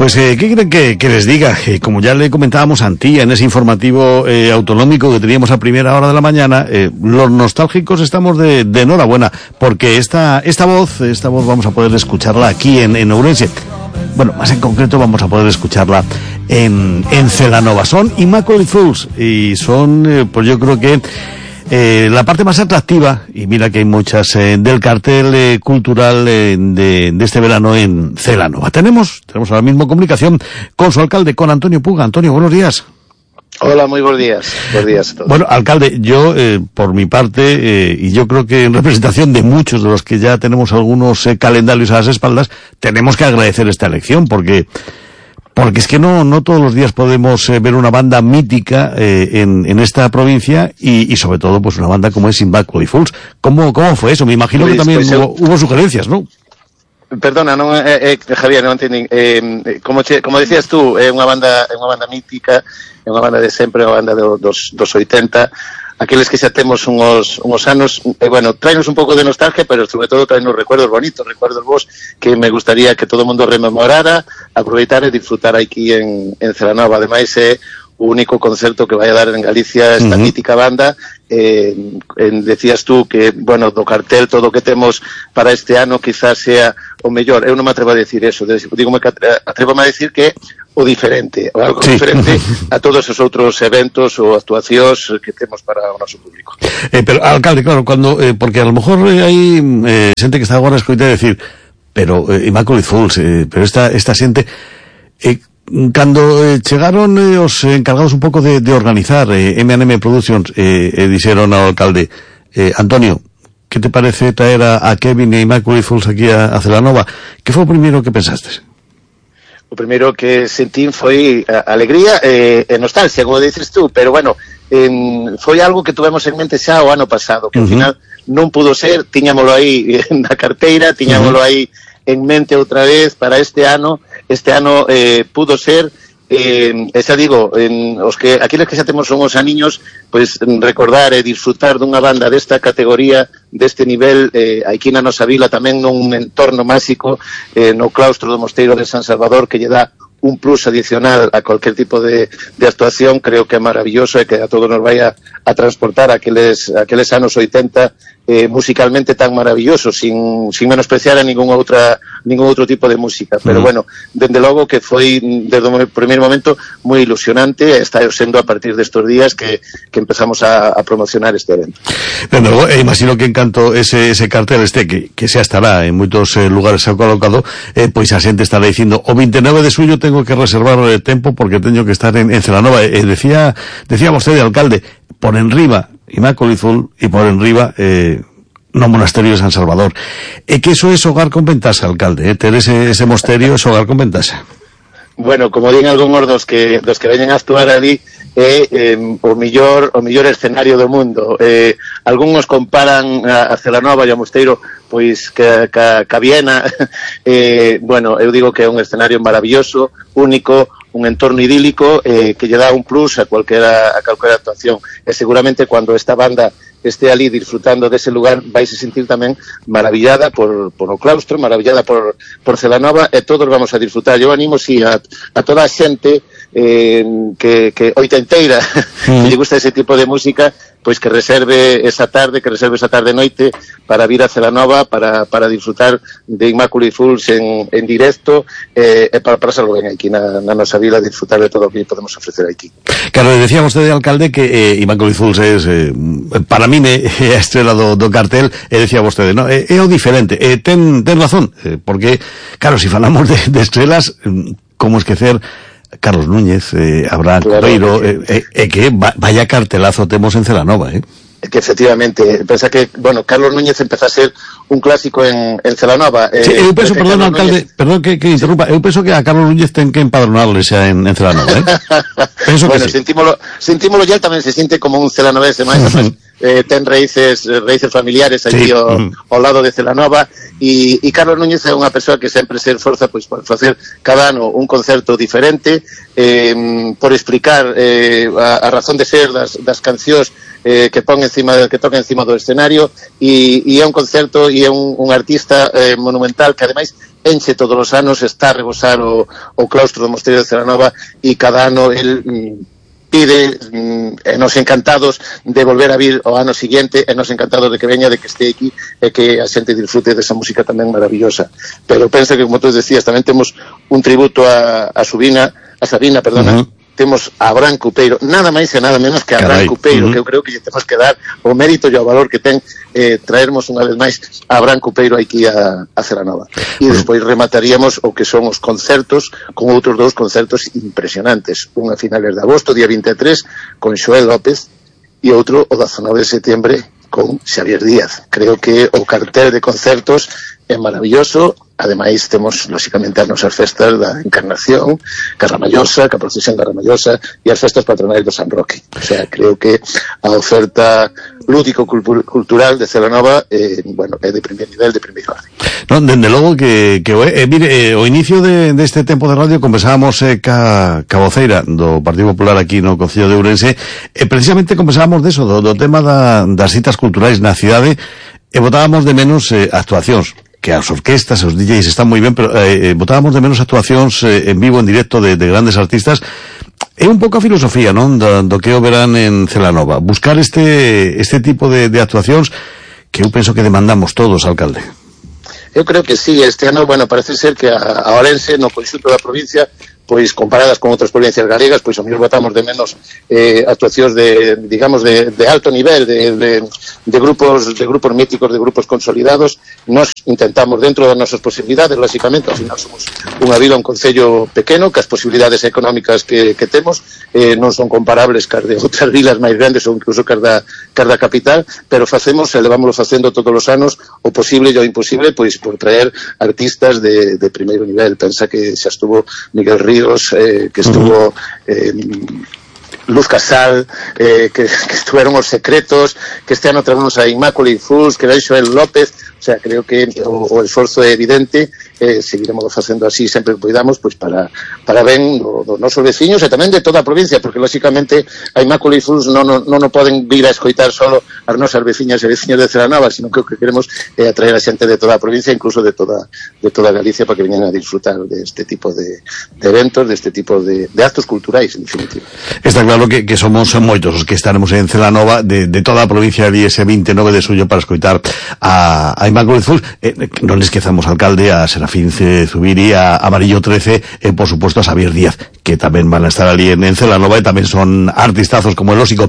Pues, ¿qué quieren que les diga? Como ya le comentábamos a Antía en ese informativo autonómico que teníamos a primera hora de la mañana, los nostálgicos estamos de enhorabuena, porque esta voz vamos a poder escucharla aquí en Ourense. Bueno, más en concreto vamos a poder escucharla en Celanova. Son Immaculate Fools y son, pues yo creo que la parte más atractiva, y mira que hay muchas, del cartel cultural de este verano en Celanova. Tenemos ahora mismo comunicación con su alcalde, con Antonio Puga. Antonio, buenos días. Hola, muy buenos días. Buenos días a todos. Bueno, alcalde, yo, por mi parte, y yo creo que en representación de muchos de los que ya tenemos algunos calendarios a las espaldas, tenemos que agradecer esta elección, porque es que no todos los días podemos ver una banda mítica en esta provincia y sobre todo pues una banda como es Immaculate Fools. ¿Cómo fue eso? Me imagino que también hubo sugerencias, ¿no? Perdona, Javier, non entendín. Como decías tú, é unha banda mítica, é unha banda de sempre, unha banda dos 80. Aqueles que xa temos uns anos, bueno, traenos un pouco de nostalgia, pero sobre todo traenos recuerdos bonitos, recuerdos vos que me gustaría que todo o mundo rememorara, aproveitar e disfrutar aquí en Celanova. Ademais, é o único concerto que vai a dar en Galicia esta mítica banda. Decías tú que, bueno, do cartel todo o que temos para este ano quizás sea o mellor. Eu non me atrevo a decir eso, atrevo a decir que o diferente, o algo diferente a todos os outros eventos ou actuacións que temos para o noso público. Pero, alcalde, claro, porque a lo mejor hai xente que está agora a escoitar e decir, pero Immaculate Fools, pero esta xente, cando chegaron os encargados un pouco de organizar M&M Productions, dixeron ao alcalde, Antonio, que te parece traer a Kevin e Immaculate Fools aquí a Celanova? Que foi o primeiro que pensastes? O primeiro que sentín foi alegría e nostalgia, como dices tú, pero bueno, foi algo que tuvemos en mente xa o ano pasado, que ao final non pudo ser, tiñámoslo aí na carteira, tiñámoslo aí en mente outra vez para este ano pudo ser, xa digo, aqueles que xa temos uns aniños, pois recordar e disfrutar dunha banda desta categoría, deste nivel, aquí na nosa vila tamén nun entorno máxico, no claustro do Mosteiro de San Salvador, que lle dá un plus adicional a cualquier tipo de actuación. Creo que é maravilloso e que a todos nos vai a transportar aqueles anos 80 musicalmente tan maravillosos, sin menospreciar a ningún outro tipo de música. Pero bueno, dende logo que foi desde o primeiro momento moi ilusionante, e está sendo a partir destes días que empezamos a promocionar este evento. Dende logo, imagino que en canto ese cartel que xa estará en moitos lugares colocado, pois a xente estará dicindo, o 29 de suyo tengo que reservar tempo porque teño que estar en Celanova. Decía vostede, alcalde, por enriba Immaculate Fools e por enriba no monasterio de San Salvador. É que eso é hogar con ventaxa, alcalde, ter ese mosterio é hogar con ventaxa. Bueno, como din algúns dos que veñen a actuar ali, é o mellor escenario do mundo. Algúns comparan a Celanova e o mosteiro pois que a Viena. Bueno, eu digo que é un escenario maravilloso, único, un entorno idílico que lle dá un plus a calquera actuación. E seguramente cando esta banda este ali disfrutando dese lugar vais a sentir tamén maravillada por o claustro, maravillada por Celanova, e todos vamos a disfrutar. Eu animo a toda a xente que oitenteira que lle gusta ese tipo de música, pois que reserve esa tarde noite para vir a Celanova para disfrutar de Immaculate Fools en directo, e para pasarlo ben aquí na nosa vila, disfrutar de todo o que podemos ofrecer aquí. Claro, decía vostede, alcalde, que Immaculate Fools es, para mí, a estrela do cartel, decía vostede, no, é o diferente, ten razón, porque, claro, si falamos de estrelas, como esquecer Carlos Núñez, Abraham Correiro, que vaya cartelazo temos en Celanova, Que efectivamente, pensa que, bueno, Carlos Núñez empeza a ser un clásico en Celanova. Sí, eu penso, perdón, alcalde, perdón que interrumpa, eu penso que a Carlos Núñez ten que empadronarle xa en Celanova, penso bueno, que sí. sentímolo ya, tamén se siente como un celanovese máis, ten raíces familiares allí ao lado de Celanova, e Carlos Núñez é unha persoa que sempre se esforza pois por facer cada ano un concerto diferente, por explicar a razón de ser das cancións que toca encima do escenario, e é un concerto e é un artista monumental que ademais enche todos os anos, está a rebosar o claustro do Mosteiro de Celanova, e cada ano el pide, nos encantados de volver a vir o ano siguiente, nos encantados de que veña, de que este aquí, e que a xente disfrute desa música tamén maravillosa. Pero pensa que, como tú decías, tamén temos un tributo a Sabina, temos a Abraham Cupeiro, nada máis e nada menos que a Abraham Cupeiro, que eu creo que lle temos que dar o mérito e o valor que ten traermos unha vez máis a Abraham Cupeiro aquí a Celanova. E despois remataríamos o que son os concertos con outros dous concertos impresionantes, un a finales de agosto, día 23, con Xoel López, e outro o 19 de setembro con Xavier Díaz. Creo que o cartel de concertos é maravilloso. Ademais, temos, lóxicamente, as nosas festas da Encarnación, Carramallosa, que a procesión Carramallosa, e as festas patronais do San Roque. O sea, creo que a oferta lúdico-cultural de Celanova é de primer nivel, de primeiro orden. Non, dende logo que mire, o inicio deste tempo de radio conversábamos ca voceira do Partido Popular aquí no Concello de Ourense, e precisamente conversábamos deso, do tema das citas culturais na cidade, e botábamos de menos actuacións, que as orquestas, os DJs están moi ben, pero botábamos de menos actuacións en vivo, en directo de grandes artistas. É un pouco a filosofía, non, do que o verán en Celanova, buscar este tipo de actuacións que eu penso que demandamos todos, alcalde. Eu creo que sí, este ano, parece ser que a Ourense, no conxunto da provincia, pois comparadas con outras provincias galegas, pois o mellor botamos de menos actuacións de alto nivel, de grupos míticos, de grupos consolidados. Nos intentamos, dentro das nosas posibilidades, lógicamente, ao final somos unha vila, un concello pequeno, que as posibilidades económicas que temos non son comparables cas de outras vilas máis grandes ou incluso cas da capital, pero levámoslo facendo todos os anos o posible e o imposible, pois por traer artistas de primeiro nivel. Pensa que xa estuvo Miguel Ríos, que estuvo Luz Casal, que estuvieron Os Secretos, que este ano traemos a Immaculate Fools, que era Xoel López. O sea, creo que o esforzo é evidente, seguiremos facendo así sempre que podamos, pois para ben dos nosos veciños e tamén de toda a provincia, porque lóxicamente a Immaculate Fools non poden vir a escoitar solo as nosas veciñas e veciños de Celanova, sino que o que queremos é atraer a xente de toda a provincia, incluso de toda Galicia, para que veñan a disfrutar deste tipo de eventos, deste tipo de actos culturais, en definitiva. Está claro que somos moitos os que estaremos en Celanova de toda a provincia de ese 29 de suyo para escoitar a Immaculate Fools. Non esquezamos, alcalde, a Serafín Zubiri, a Amarillo 13 e, por supuesto, a Xavier Díaz, que tamén van a estar ali en Celanova e tamén son artistazos, como é lógico.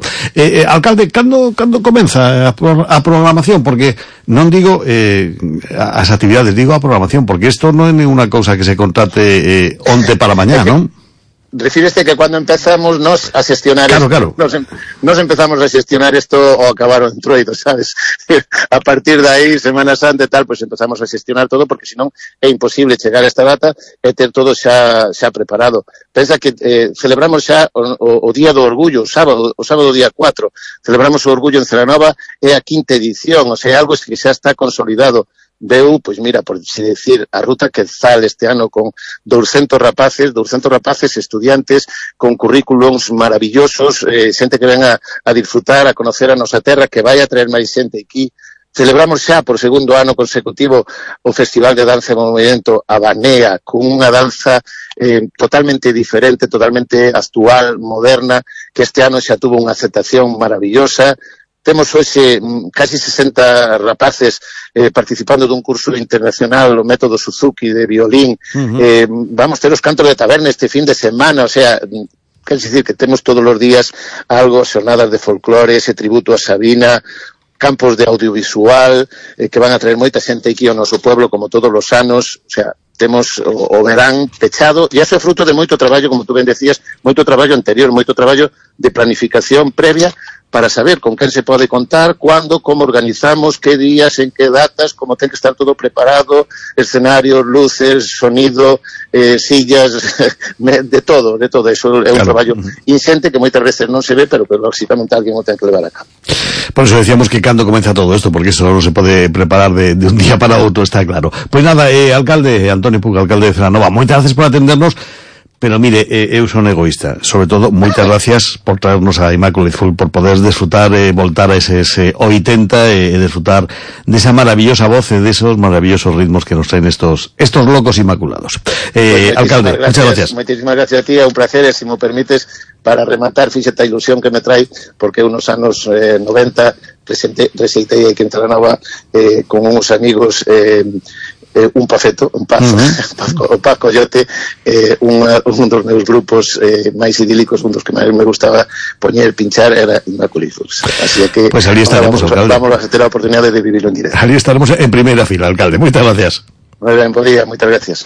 Alcalde, cando comeza a programación? Porque non digo as actividades, digo a programación, porque isto non é ninguna cousa que se contrate onte para mañá, non? Refíreste que cuando empezamos nos a xestionar claro. Nos empezamos a xestionar isto o acabar o entroido, sabes? A partir de aí, Semana Santa e tal, pues empezamos a xestionar todo, porque senón é imposible chegar a esta data e ter todo xa preparado. Pensa que celebramos xa o Día do Orgullo, o sábado día 4, celebramos o Orgullo en Celanova, é a 5ª edición, o sea, algo que xa está consolidado. Veu, pois mira, por decir, a Ruta Quetzal este ano con 200 rapaces estudiantes con currículums maravillosos, xente que ven a disfrutar, a conocer a nosa terra, que vai a traer máis xente aquí. Celebramos xa por segundo ano consecutivo o Festival de Danza e Movimento Abanea, con unha danza totalmente diferente, totalmente actual, moderna, que este ano xa tuvo unha aceptación maravillosa. Temos hoxe casi 60 rapaces participando dun curso internacional, o método Suzuki de violín. Vamos ter os cantos de taberna este fin de semana, o sea, quer dicir que temos todos os días algo, xornadas de folclore, ese tributo a Sabina, campos de audiovisual, que van a traer moita xente aquí ao noso pueblo, como todos os anos. O sea, temos o verán pechado, e iso é fruto de moito traballo, como tú ben decías, moito traballo anterior, moito traballo de planificación previa, para saber con quen se pode contar, cuándo, como organizamos, que días, en que datas, como ten que estar todo preparado, escenarios, luces, sonido, sillas, de todo. Eso é un traballo inxente que moitas veces non se ve, pero que lógicamente alguén o ten que levar a cabo. Por eso decíamos que cando comeza todo isto, porque isto non se pode preparar de un día para outro, está claro. Pois nada, alcalde Antonio Puga, alcalde de Celanova, moitas gracias por atendernos. Pero mire, eu son egoísta. Sobre todo, moitas gracias por traernos a Immaculate Full, por poder desfrutar, voltar a eses 80 e desfrutar desa maravillosa voz e desos maravillosos ritmos que nos traen estos locos inmaculados. Pues alcalde, muchas gracias. Moitísimas gracias a ti, é un placer, e se me permites, para rematar, fíxate a ilusión que me trae, porque unos anos 90 receitei aquí en Talanova con uns amigos un pafeto, un Paz Coyote, un dos meus grupos máis idílicos, un dos que máis me gustaba poñer, pinchar, era Immaculate Full. Así que pues ali estaremos, alcalde. Vamos a ter a oportunidade de vivirlo en directo. Ali estaremos en primeira fila, alcalde. Moitas gracias. Moi ben, bo día, moitas gracias.